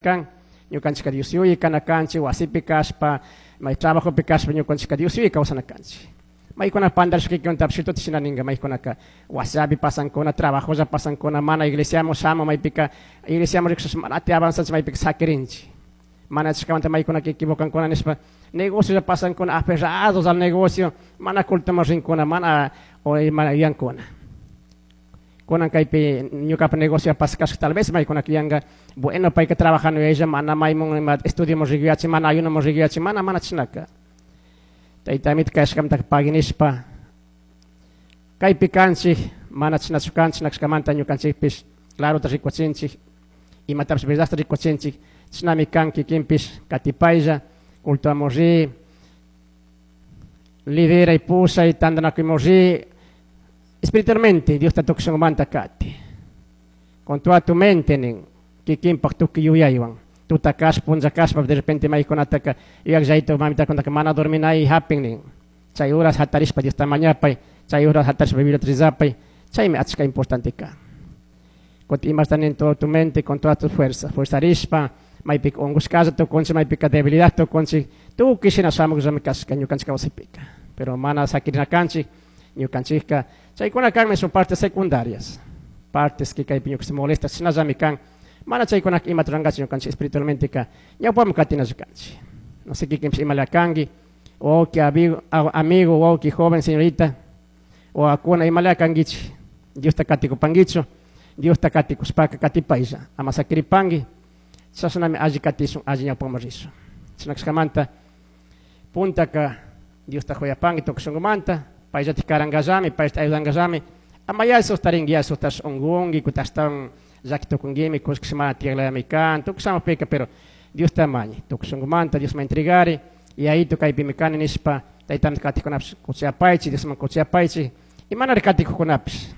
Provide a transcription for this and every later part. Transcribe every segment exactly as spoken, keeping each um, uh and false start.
Kan ñukanchika Dios yuyi kana kanchik wasipi kashpa may trabajopi kashpa ñukanchika Dios yuyi kawsana kanchik. Maykuna pandarishkaykunatapish shituta shina ninka maykunaka wasillapi pasankuna, trabajolla pasankuna, mana iglesiaman shamun, maypika iglesiaman rikushpa mana avanzanchik, maypika sakirinchik. Mana chashkamanta maykunaka equivocankuna nishpa negociolla pasankuna, aferrados al negocio, mana cultoman rinkuna, mana mana yuyankuna. Kunan kaypi ñukapa negocio pasakashka, tal vez maykunaka yuyanka, bueno, payka trabajando ella mana maymun ima estudioman rikuyachin, mana ayunoman rikuyachin, mana mana chishnaka. Tayta Amito kayashkamanta pagui nishpa kaypi kanchik, mana chishnachu kanchik nashkamanta ñukanchikpish clarota rikuchinchik, imatapish verdadta rikuchinchik, chishnami kan. Kikinpish katipaylla, cultoamun ri, lideray, pushay, tantanakuymun ri, espiritualmente Diosta tukuy shunqumanta kati. Con toda tu mente nin, kikinpak tukuy yuyaywan. Tuta kashpa, punlla kashpa, de repente maykunataka yuyakllayta mamitakunataka mana dorminay hapin nin. Chay horas hatarishpa Diosta mañapay, chay horas hatarishpa Bibliata rezapay, chaymi achka importante kan. Kutin imasta nin toda tu mente, con toda tu fuerza, fuerzarishpa, maypika unkushkalla tukunchik, maypika debilidad tukunchik, tukuy shina shamukllami kashka ñukanchik kawsaypika. Pero mana sakirina kanchik, ñukanchikka chaykuna kanmi, son partes secundarias, partes que kaypi ñuka molesta, shinallami kan, mana chaykunaka imata rurankachi ñukanchik espiritualmente ka ñawpaman katinalla kanchik. No sé kikinpish imala kanki, wawki, amigo, amigo, wawki, joven, señorita, wawakuna, imala kankichik, Diosta katikupankichu? Diosta katikushpaka katipaylla, ama sakiripanki, chashnami alli katishun, alli ñawpaman rishun. Chashna kashkamanta puntaka Diosta huyapanki tukuy shunkumanta, payllatik karankallami, payllatik ayudankallami, ama ya sustarinki, ya sustash unkunki, kutin ashtawan llaki tukunkimi, kullkish mana tiyaklayami kan, tukuy shamukpika, pero Diosta mañay, tukuy shunkumanta Diosman entregari, y ayito kaypimi kani nishpa, taytanta katikunapish kuchayapaychik, Diosman kuchayapaychik, y manari katikukunapish,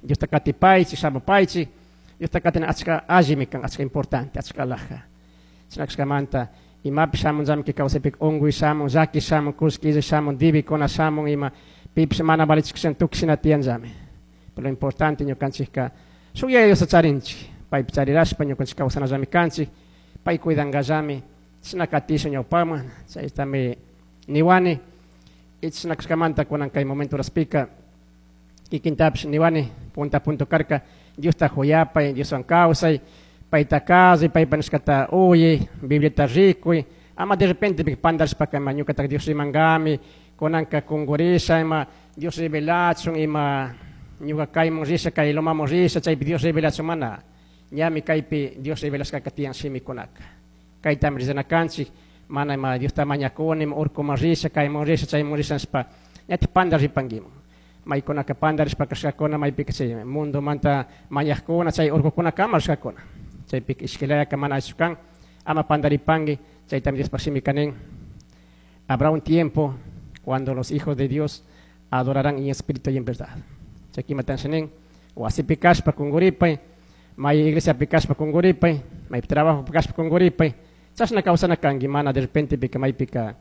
Diosta katipaychik, shamupaychik, Diosta katina achka allimi kan, achka importante, achka alhaja. Chashna kashkamanta imapish shamunllami kay kawsaypika, unkuy shamun, llaki shamun, kullki shamun, debikuna shamun, ima pipish mana valichikshina tukuy shina tiyanllami. Pero lo importante ñukanchikka shuk Yaya Diosta charinchik, paypi charirashpa ñukanchik kawsanallami kanchik, pay cuidankallami, chashna katishun ñawpaman, chaytami niwani. Y chashna kashkamanta kunan kay momento horaspika kikintapish niwani, punta punto karka, Diosta huyapay, Dioswan kawsay, payta kasuy, paypa nishkata uyay, Bibliata rikuy, ama de repente pandarishpaka ima ñukataka Dios rimankami, kunanka kunkurisha, ima Dios revelachun, ima ñuka kayman risha, kay lomaman risha, chaypi Dios revelachun, mana. Ñami kaypi Dios revelashkaka tiyan shimikunaka. Kaytami rizana kanchik, mana ima Diosta mañakuni, ima urkuman risha, kayman risha, chayman risha nishpa, ñatik pandaripankiman. Maykunaka pandarishpa kashkakuna, maypika chay mundomanta mañajkuna, chay urkukunakama rishkakuna. Chaypika ishkilayaka mana allichu kan, ama pandaripanki, chaytami Diospaj shimika nin. Habrá un tiempo cuando los hijos de Dios adorarán en espíritu y en verdad. Chay imata nin, wasipi kashpa kunkuripay, may iglesiapi kashpa kunkuripay, may trabajo kashpa kunkuripay, chashna kawsana kanki, mana de repente pika maypika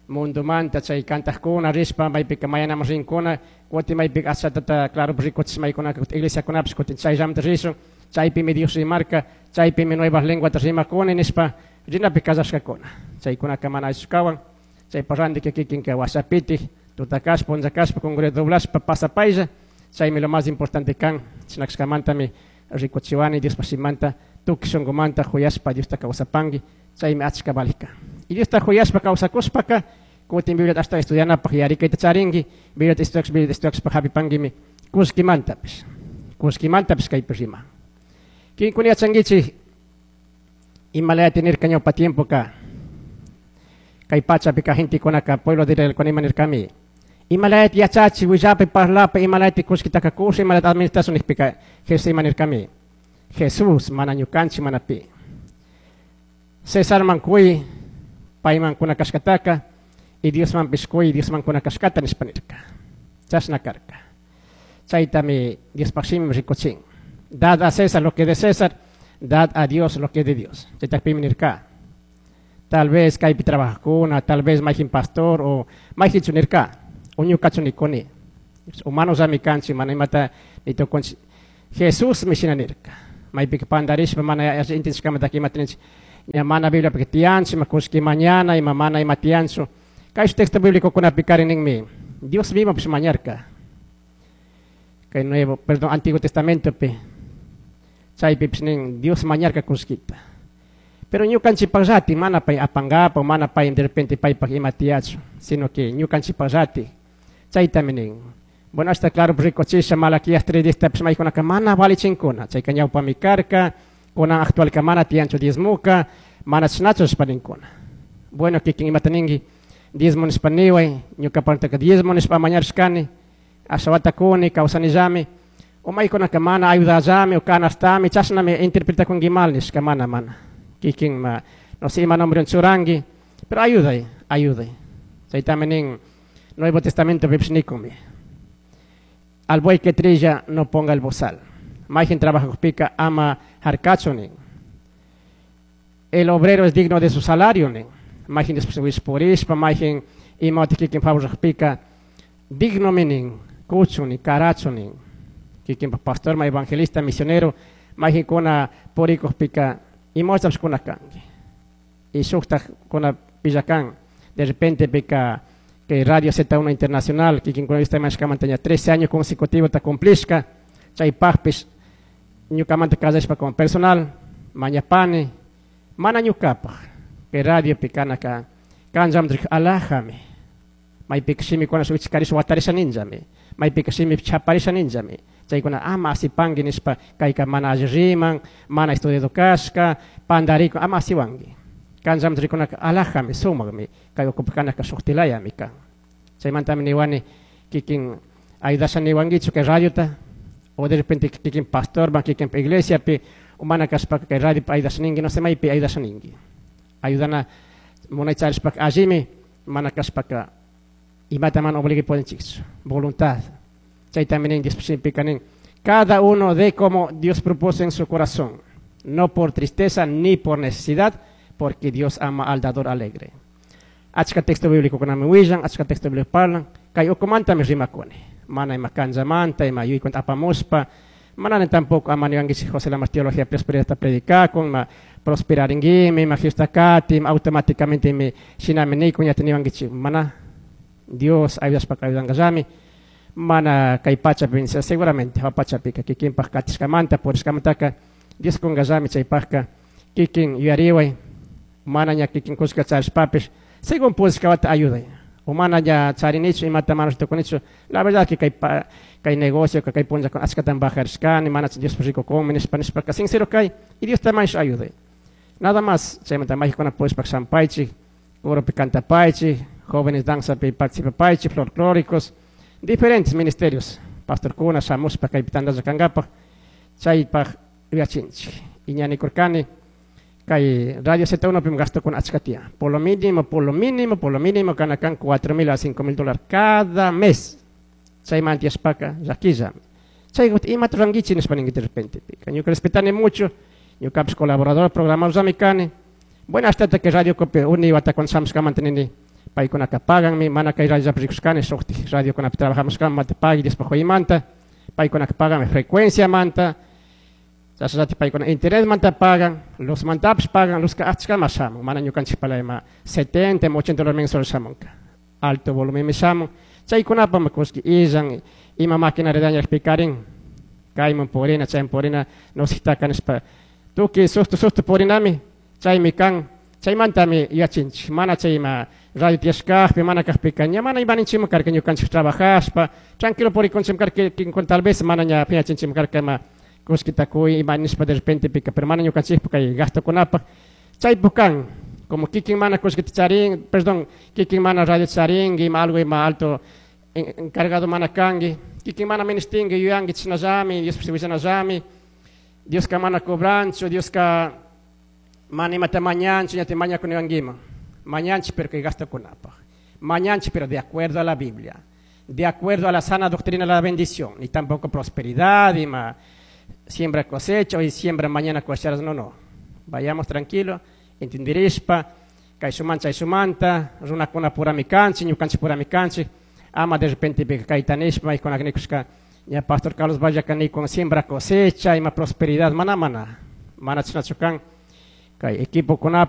mundomanta chay kantajkuna rishpa maypika mayanaman rinkuna, kutin maypika ashatata claro rikuchish maykunaka iglesiakunapish kutin chayllamanta rishun, chaypimi Dios rimarka, chaypimi nuevas lenguata rimakuni nishpa rinapi kallashkakuna. Chaykunaka mana allichu kawan, chaypa randika kikinka washapitik, tuta kashpa, punlla kashpa, kunkuri doblashpa pasapaylla, chaymi lo más importante kan. Chashna kashkamantami rikuchiwani Diospaj shimanta, tukuy shunkumanta huyashpa Diosta kawsapanki, chaymi achka valik kan. Y Diosta huyashpa kawsakushpaka, kutin Bibliata ashtawan estudianapaj yarikayta charinki, Bibliata estudiakushpa, Bibliata estudiakushpa hapipankimi kullkimantapish, kullkimantapish kaypi riman. Kinkuna yachankichik imalayati nirka ñawpa tiempoka kay pachapika gentekunaka pueblo de Israel ima nirkami, imalayati yachachi, willapi, parlapi, imalayati kullkitaka kusha, imalayati administración nijpika, Jesús ima nirkami, Jesús mana ñukanchik, mana pi. Cesarman kuy, payman kuna kashkataka, y Diosmanpish kuy, Diosman kuna kashkata nishpa nirka. Chashna karka. Chaytami Diospaj shimi rikuchin. Dad a César lo que de César, dad a Dios lo que es de Dios. Chaytakpimi nirka. Tal vez kaypi trabajajkuna, tal vez mayjin pastor o mayjinchu nirka, o ñukachu nikuni. Humanos kanchik, mana imata nitukunchik. Jesús mi shina nirka. Maypika pandarishpa mana intendishkamantaka imata ninchik. Ña mana Bibliapi tiyanchu, ima kullki mañana, ima mana ima tiyanchu. Kay texto bíblico kunapikarin ninmi, Dios mismo pues mañarka. Kay Nuevo, perdón, Antiguo Testamento pi. Chaypi pues nin, Dios mañarka kullkita. Pero ñukanchikpaqllati mana pay apangapa, mana pay de repente paypaq ima tiyachu, sino que ñukanchikpaqllati. Chaytami nin. Bueno, hasta claro, rikuchisha Malaquías tres diez pues maykunaka mana valichinkuna. Chayka ñawpami karka, kunan actualka mana tiyanchu diezmuka, mana chashnachu nishpa ninkuna. Bueno, kikin imata ninki, diezmo nishpa niway, ñukapantaka diezmo nishpa mañarishkani, ashawata kuni, kawsanillami, o maykunaka mana ayudallami, o canastami, chashnami interpretakunki mal nishka, mana, mana. Kikin ma, no sé, ima nombre churanki, pero ayuday, ayuday. Chaytami nin, Nuevo Testamento pipish nikumi. Al buey que trilla no ponga el bozal. Mayjin trabajajpika ama harkachu nin. El obrero es digno de su salario nin. Mayjin después purishpa, mayjin ima kikin favorajpika digno minin, kuchu nin, karachu nin. Kikin pastor, ma evangelista, misionero, mayjin kuna purikujpika imawtapish kuna kanki. Y shuktaj kuna pillakan. De repente pika que Radio Z uno Internacional, kikin kuna vista mashkamanta ña trece años consecutivos ta cumplishka, chaypajpish ñukamanta kallashpa como personal, mañapani, mana ñukapaj, que radio pikanaka, kanjamdrik alajami, maypika shimikuna shuwichkarisha watarisha ninllami, maypika shimi chaparisha ninllami, chaykuna ama asipanki nishpa kayka mana alli riman, mana estudiado kashka, pandarikun, ama asiwanki. Kanjamdrikunaka alajami, sumakmi, kay ukupikanaka shuktilayami kan. Chaymantami niwani kikin ayudasha niwankichu kay radiota, o de repente kikin pastor, ma kikin iglesia pi, o mana kashpaka kay radio ayudasha ninki, no sé maypi ayudasha ninki. Ayudana munay charishpaka allimi, mana kashpaka imata mana obligui puedinchikchu, voluntad. Chaytami nin Dios shimipika nin, cada uno de como Dios propuso en su corazón, no por tristeza ni por necesidad, porque Dios ama al dador alegre. Achka texto bíblico kunami willan, achka texto bíblico parlan, kay ukumantami rimakuni. Mana ima kanllamanta, ima yuykunata apamushpa, manani tampoco ama niwankichik José Lamas teología prosperidad ta predicakun, ma prosperaringuimi, ma Jesusta kati, ma automáticamente mi shinami nikun, ña niwankichik, mana Dios ayudashpaka ayudankallami, mana kay pachapi, seguramente pachapika kikinpaj katishkamanta, purishkamantaka, Dios kunkallami chaypajka, kikin yuyariway, mana ña kikin kushka charishpapish, según pudishkawata ayuday. O mana ña charinichu, imata mana tukunichu, la verdad que kay pa, kay negocio, kay punlla con achkatan bajarishkani, mana Dios rico come, nishpa, nishpa, sincero kay, y Dios también ayude. Nada más, chaymanta mágicona pudishpak shampaychik, coropi cantapaychik, jóvenes danza pi participapaychik, folclóricos, diferentes ministerios, pastor kuna, shamushpa, kay pitandalla kankapaj, chaypaj yuyachinchik. Y ñanikurkani, kay Radio Z uno pim gasto con achka tiyan. Por lo mínimo, por lo mínimo, por lo mínimo, kanakan cuatro mil a cinco mil dólares cada mes. Chaymanta yashpaka, llakilla. Chay imata rurankichik nishpa ninki de repente. Ñuka respetani mucho, ñukapish colaborador, programador kani. Bueno, hasta que Radio Copia uni wata con shamushkamanta nini, paykunaka paganmi, mana kay radio rikushkani, shuktik radio kunapi trabajamos manta pagui, Diospa huymanta, paykunaka paganmi frecuencia manta, chashnallati paykuna internet manta pagan, luz mantapish pagan, luzka achkama shamun, mana ñukanchikpala ima setenta, ima ochenta dólares mensual shamunka, alto volumen shamun, chaykunapami kullki illan, ima maquinaria dañakpikarin, kayman purina, chayman purina, nositaka nishpa, tukuy susto susto purinami, chaymi kan, chaymantami yuyachinchik, mana chay ima radio tiyashkajpi, mana kajpika, ña mana ima ninchikman karka ñukanchik trabajashpa, tranquilo purikunchikman karka, kikin tal vez mana ña piñachinchikman karka ima kullkita kuy, ima nishpa de repente pika, pero mana ñukanchikpa kay gastokunapaj, chaypuk kan, como kikin mana kullkita charin, perdón, kikin mana radio charinki, ima algo ima alto encargado mana kanki, kikin mana ministinki, yuyanki chashnallami, Dios willanallami, Dioska mana cobranchu, Dioska mana imata mañanchu, ña te mañakuniwankiman. Mañanchik pero kay gastokunapaj. Mañanchik pero de acuerdo a la Biblia, de acuerdo a la sana doctrina de la bendición, ni tampoco prosperidad, ima siembra cosecha, hoy siembra mañana cosecharás, no, no. Vayamos tranquilo, entenderishpa, kay shuman chay shumanta, runakuna purami kanchik, ñukanchik purami kanchik, ama de repente kaytanishpa, maykunaka nikushka, ña Pastor Carlos Valle kanikun siembra cosecha, ima prosperidad, mana, mana, mana chashnachu kan, Kay equipokunapi.